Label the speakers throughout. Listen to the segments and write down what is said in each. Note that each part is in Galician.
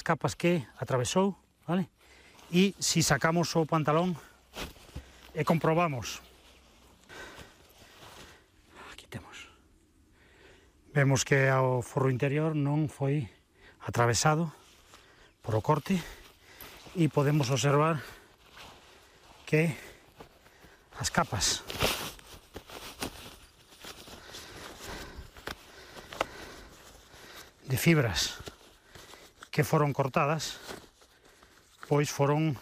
Speaker 1: capas que atravesou, vale? E se sacamos o pantalón e comprobamos, aquí temos, vemos que o forro interior non foi atravesado por o corte e podemos observar que as capas de fibras que foron cortadas, pois foron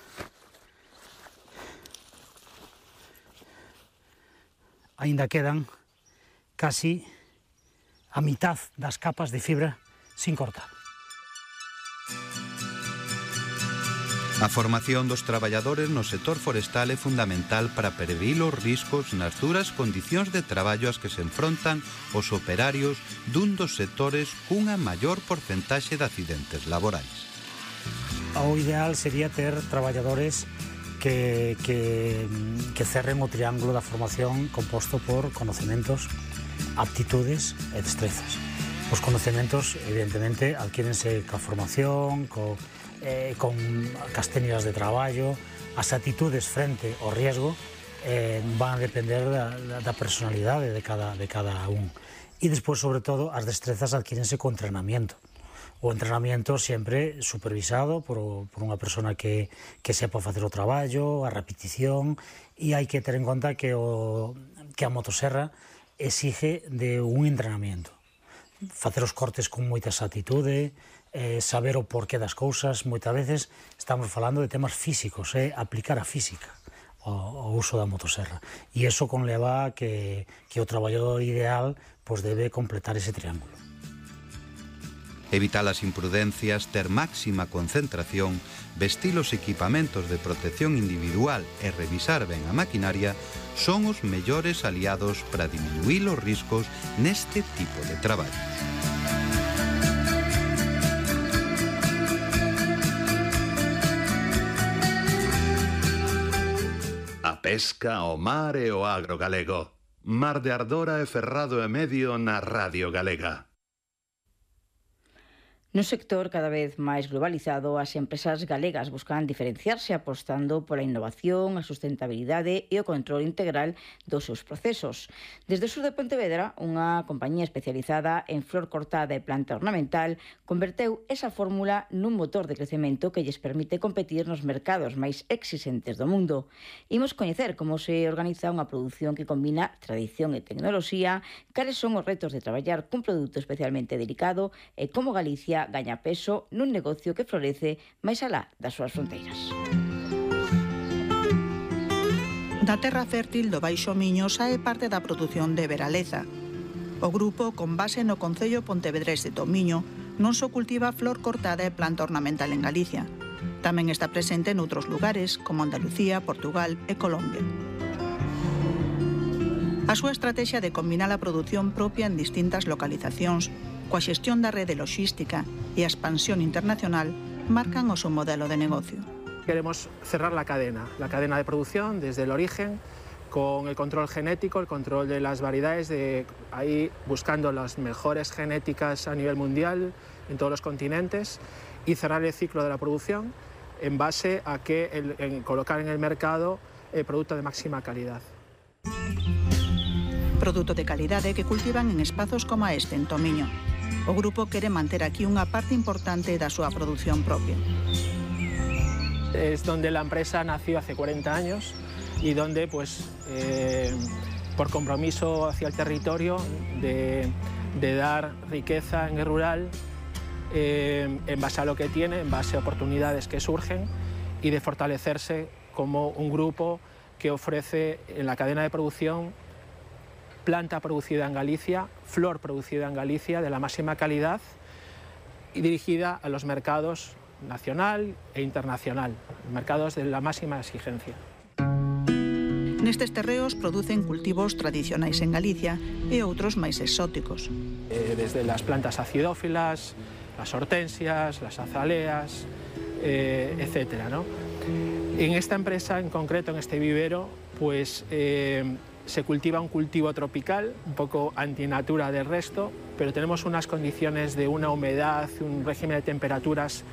Speaker 1: aínda quedan casi a mitad das capas de fibra sin cortar.
Speaker 2: A formación dos traballadores no sector forestal é fundamental para prevenir os riscos nas duras condicións de traballo ás que se enfrontan os operarios dun dos sectores cunha maior porcentaxe de accidentes laborais.
Speaker 1: O ideal sería ter traballadores que cerren o triángulo da formación composto por conocimientos, aptitudes e destrezas. Os conocimientos, evidentemente, adquírense coa formación, con as técnicas de traballo, as actitudes frente ao riesgo van a depender da personalidade de cada un. E despois, sobre todo, as destrezas adquírense co entrenamiento. O entrenamiento sempre supervisado por unha persona que sepa facer o traballo, a repetición, e hai que ter en conta que a motoserra exige de un entrenamiento. Facer os cortes con moita actitude, saber o porqué das cousas. Moitas veces estamos falando de temas físicos, aplicar a física ao uso da motoserra, e iso conleva que o traballador ideal pois debe completar ese triángulo.
Speaker 2: Evitar as imprudencias, ter máxima concentración, vestir os equipamentos de protección individual e revisar ben a maquinaria son os mellores aliados para diminuir os riscos neste tipo de traballos.
Speaker 3: A pesca, o mar e o agro galego. Mar de Ardora e Ferrado e Medio na Radio Galega.
Speaker 4: No sector cada vez máis globalizado, as empresas galegas buscan diferenciarse apostando pola innovación, a sustentabilidade e o control integral dos seus procesos. Desde o sur de Pontevedra, unha compañía especializada en flor cortada e planta ornamental converteu esa fórmula nun motor de crecemento que lles permite competir nos mercados máis exixentes do mundo. Imos coñecer como se organiza unha produción que combina tradición e tecnoloxía, cales son os retos de traballar cun produto especialmente delicado e como Galicia gaña peso nun negocio que florece máis alá das súas fronteiras.
Speaker 5: Da terra fértil do Baixo Miño sae parte da produción de Veraleza. O grupo, con base no concello pontevedrés de Tomiño, non só cultiva flor cortada e planta ornamental en Galicia. Tamén está presente noutros lugares, como Andalucía, Portugal e Colombia. A súa estrategia de combinar a produción propia en distintas localizacións coa xestión da rede logística e a expansión internacional marcan o seu modelo de negocio.
Speaker 6: Queremos cerrar la cadena de producción desde el origen, con el control genético, el control de las variedades, de ahí buscando las mejores genéticas a nivel mundial en todos los continentes, y cerrar el ciclo de la producción en base a en colocar en el mercado producto de máxima calidad.
Speaker 5: Produto de calidade que cultivan en espazos como este en Tomiño. O grupo quere manter aquí unha parte importante da súa produción propia.
Speaker 6: Es donde la empresa nació hace 40 años y donde, pues, por compromiso hacia el territorio de dar riqueza en el rural, en base a lo que tiene, en base a oportunidades que surgen, y de fortalecerse como un grupo que ofrece en la cadena de producción planta producida en Galicia, flor producida en Galicia de la máxima calidad y dirigida a los mercados nacional e internacional, mercados de la máxima exigencia.
Speaker 5: Nestes terreos producen cultivos tradicionais en Galicia e outros máis exóticos.
Speaker 6: Desde las plantas acidófilas, las hortensias, las azaleas, etcétera, ¿no? En esta empresa, en concreto, en este vivero, pues se cultiva un cultivo tropical, un poco antinatura del resto, pero tenemos unas condiciones de una humedad, un régimen de temperaturas